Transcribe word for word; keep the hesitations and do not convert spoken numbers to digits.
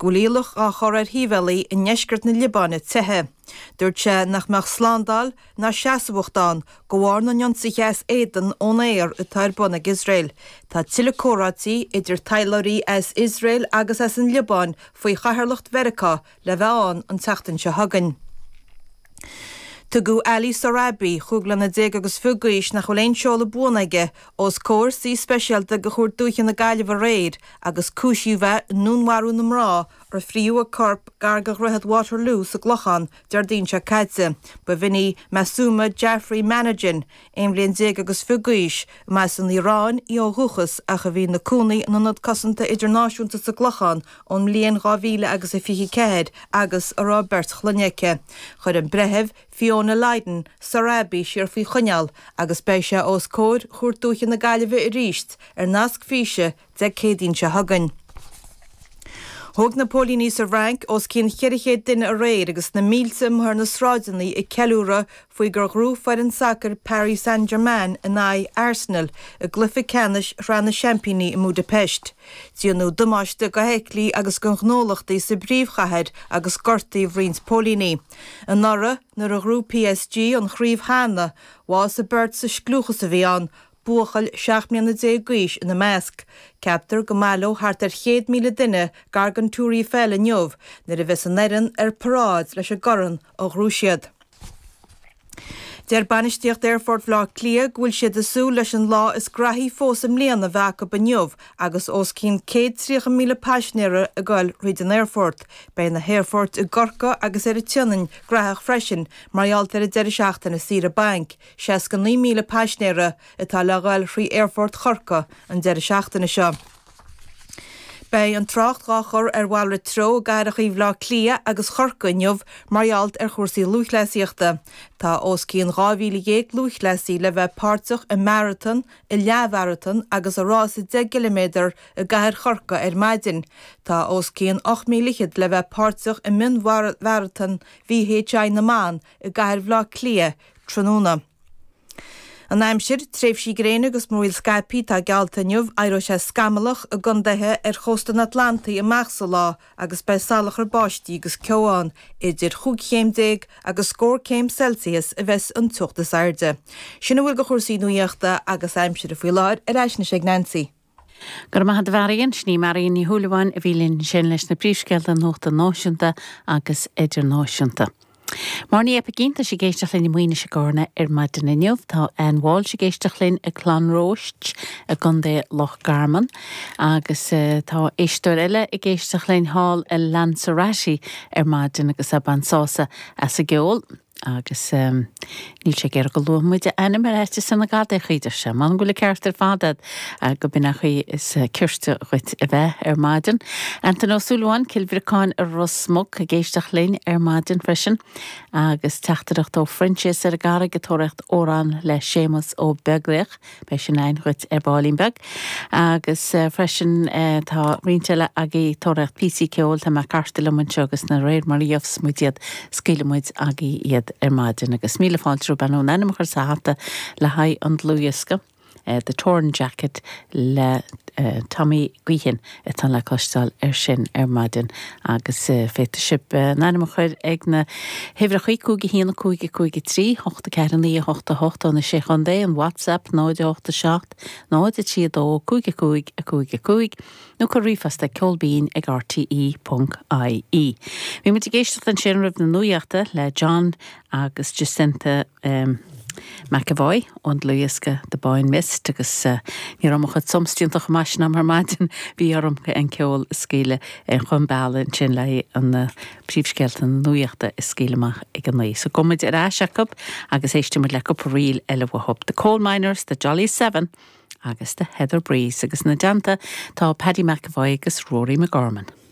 go bhfuil iallach á chur ar shibhialaigh i ndeisceart na Liobáine teitheadh. Dúirt sé nach mbeadh slándáil ná seasmhacht ann de bharr na n-ionsaithe as éadan ón aer atá ar bun ag Iosrael. Tá tuilleadh comhráití idir taidhleoirí as Iosrael agus as an Liobáin faoi chathaoirleacht Mheiriceá le bheith ann an tseachtain seo chugainn. Tugadh Ali Sohrabi, chúig bliana déag agus fiche d'aois nach bhfuil aon seoladh buan aige, os comhair suí speisialta de Chúirt Dúiche na Gaillimhe aréir agus cúisíodh é i ndúnmharú na mná ar frítheadh a corp gar do Dhroichead Waterloo sa gClochán Déardaoin seo caite. B'in í Masuma Jafri Manajan, aon bhliain déag agus fiche d'aois, a mba as an Iaráin í ó dhúchas ach a bhí ina cónaí in Ionad Cosanta Idirnáisiúnta sa gClochán ón mbliain dhá mhíle agus a fiche ceathair agus a raibh beirt chlainne aici. Chuir an breitheamh Fiona Lydon Sohrabi siar faoi choinneáil agus beidh sé os comhair Chúirt Dúiche na Gaillimhe arís ar nasc físe Dé Céadaoin seo chugainn. Thóg na póilíní sa bhFrainc os cionn cheithre chéad duine aréir agus na mílte amuigh ar na sráideanna ag ceiliúradh faoi gur ghnóthaigh foireann sacair Paris Saint-Germain in aghaidh Arsenal i gcluiche ceannais Shraith na Seaimpíní i mBudapest. Déanadh damáiste do fheithiclí agus do ghnólachtaí sa bpríomhchathair agus gortaíodh roinnt póilíní. Anuraidh, nuair a ghnóthaigh PSG an chraobh cheana, bhásaigh beirt sa scliúchas a bhí ann, buachaill seacht mbliana déag d'aois ina measc. Ceaptar go mbaileoidh thart ar chéad míle duine gar don Tour Eiffel inniu nuair a bheas an fhoireann ar paráid leis an gcorn a ghnóthaigh siad. Deir bainistíocht Aerfort Bhaile Átha Cliath go bhfuil siad ag súil leis an lá is graithí fós i mbliana a bheith acu inniu agus os cionn céad tríocha míle paisinéara ag goil thríd an aerfort. Beidh na haerfoirt i gCorcaigh agus ar an tSionainn graitheach freisin mar gheall ar an deireadh seachtaine saoire bainc. seasca naoi míle paisinéara atá le ghoil thrí Aerfort Chorcaí an deireadh seachtaine seo. Beidh an trácht dhá chur ar mhalrait treo i gcathracha Bhaile Átha Cliath agus Chorcaí inniu mar gheall ar chúrsaí lúthchleasaíochta. Tá os cionn dhá mhíle dhéag lúthchleasaí le bheith páirteach i maratón, i leathmharatón agus i rása deich gciliméadar i gcathair Chorcaí ar maidin. Tá os cionn ocht míle fhichead le bheith páirteach i mionmharatón VHI na mban i gcathair Bhaile Átha Cliath tráthnóna. An aimsir, tréimhsí gréine agus múraíl scaipthe atá geallta inniu, éireoidh sé scamallach i gcontaetha ar chósta an Atlantaigh amach sa lá agus beidh salachar báistí agus ceo ann. Idir chúig chéim déag agus scór céim Celsius a bheas an teocht is airde. Sin a bhfuil de chúrsaí nuachta agus aimsire faoi láthair, ar ais anois ag Nancy. Go raibh maith agat a Mharion, sin í Marion Ní Shúilleabháin a bhí linn ansin leis na príomhscéalta nuachta náisiúnta agus idirnáisiúnta. Mar ní Epicín tá sí ag éisteacht linn i Maínis i gCarna ar maidin inniu, Tá Ann Walsh ag éisteacht linn i gClonrois i gContae Loch Garman agus uh, tá éisteoir eile ag éisteacht linn thall i Lanzarote ar maidin agus ag baint sásamh as an gceol. agus um, níl sé gur go luamuide ainm ar eite san na gad chuidir se, Man go bhfuil ceart ar fad uh, go b'in chuí is uh, cirte chuit a bheith ar maidin. Antain Ó Súilleabháin Cill Bhriocáin i Ros Muc ag éisteacht linn ar maidin freisin, agus teachtaireacht ó Phroinsias ar an gCarraig ag tóraíocht amhrán le Séamus Ó Beaglaoich, beidh sin againn dhuit ar baillín beag, agus uh, freisin uh, tá roinnt eile agaibh ag tóraíocht píosaí ceoil tá mé carte liom anseo agus de réir mar a gheobhas muid iad scaoilfidh muid agaibh iad ar maidin agus míle fáilte romhaibh bhur n-ainm a chur sa hata le haghaidh an dlúthdhiosca. Uh, the Torn Jacket le uh, Tommy Guihin atá le cloisteáil ar sin ar maidin agus uh, féadfaidh sibh uh, n-ainm a chur ag na huimhreacha cúig haon cúig cúig trí, hocht ceathair naoi hocht hocht ó na sé chontae an WhatsApp náid hocht seacht, náid trí dó cúig cúig a cúig cúig, nó cuir ríomhphost ag ceolbinn ag rte.ie. Bhí muid ag éisteacht ansin roimh na nuachta le John agus Jacinta um, McAvoy ón dlúthdhiosca The Boyne Mist agus uh, ní raibh mo chuid somstíantach meis am ar maidin bhí orm an ceol a scaoileadh ar chun bealaigh ansin le an uh, príomhscéalta na nuachta a scaoileadh amach ag an naoi. So gabhfaidh muid ar ais acu agus éistfidh muid le cúpla ríl eile uathu. The Coal Miners, The Jolly Seven agus The Heather Breeze agus ina dteannta tá Paddy McAvoy agus Rory McGorman.